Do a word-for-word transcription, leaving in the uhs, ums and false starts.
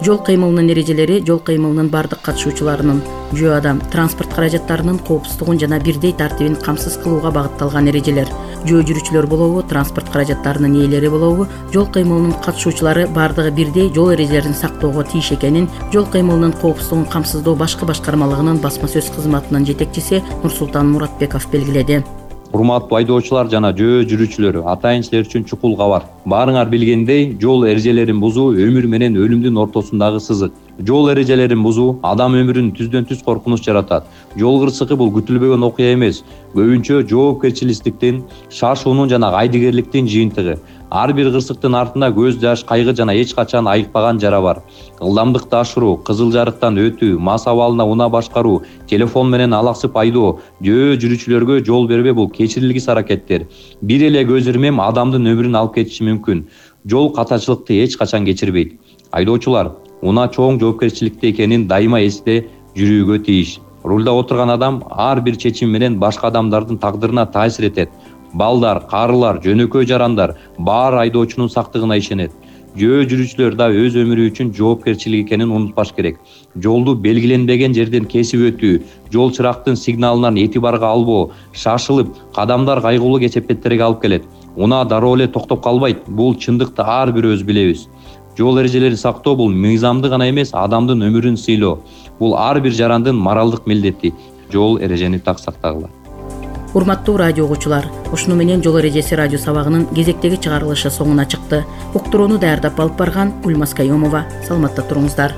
Жол кыймылынын эрежелери жол кыймылынын бардык катышуучуларынын жөө адам транспорт каражаттарынын коопсуздугун жана бирдей тартибин камсыз кылууга багытталган эрежелер. Жөө жүрүүчүлөр болобу, транспорт каражаттарынын ээлери болобу, жол кыймылынын катышуучулары бардыгы бирдей жол эрежелерин сактоого тийиш экенин жол кыймылынын коопсуздугун камсыздоо башкы башкармалыгынын басма сөз кызматынын жетекчиси Нурсултан Муратбеков белгиледи. Урматтуу айдоочулар жана жөө жүрүүчүлөр, атайын силер үчүн чукул кабар. Баарыңар билгендей, жол эрежелерин бузуу өмүр менен өлүмдүн ортосундагы сызык. Жол эрежелерин бузуу адам өмүрүн түздөн түз коркунуч жаратат. Жол кырсыгы бул күтүлбөгөн окуя эмес, көбүнчө жоопкерчиликтин, шашуунун жана кайдыгерликтин жыйынтыгы. Ар бир кырсыктын артында көз жаш, кайгы жана эч качан айыкпаган жара бар. Ылдамдыкты ашыруу, кызыл жарыктан өтүү, мас абалына унаа башкаруу, телефон менен алаксып айдоо, жөө жүрүүчүлөргө жол бербөө бул кечирилгис аракеттер. Бир эле көз ирмем адамдын өмүрүн алып кетиши мүмкүн. Жол катачылыкты эч качан кечирбейт. Айдоочулар унаа чоң жоопкерчиликте экенин дайыма эсте жүрүүгө тийиш. Рулда отурган адам ар бир чечим менен башка адамдардын тагдырына таасир этет. Балдар, карылар, жөнөкөй жарандар баары айдоочунун сактыгына ишенет. Жөө жүрүүчүлөр да өз өмүрү үчүн жоопкерчилик экенин унутпаш керек. Жолду белгиленбеген жерден кесип өтүү, жол чырактын сигналынан этибарга албоо, шашылып, кадамдар кайгылуу кесепеттерге алып келет. Унаа дароо эле токтоп калбайт. Бул чындыкты ар бирөөбүз билебиз. Жол эрежелерин сактоо бул мыйзамды гана эмес, адамдын өмүрүн сыйлоо. Бул ар бир жарандын моралдык милдети. Жол эрежени так сактагыла. Урматтуу радио угуучулар, ушуну менен жол эрежеси радио сабагынын кезектеги чыгарылышы соңуна чыкты. Уктурууну даярдап алып барган Гүлмаз Кайомова. Саламатта туруңуздар.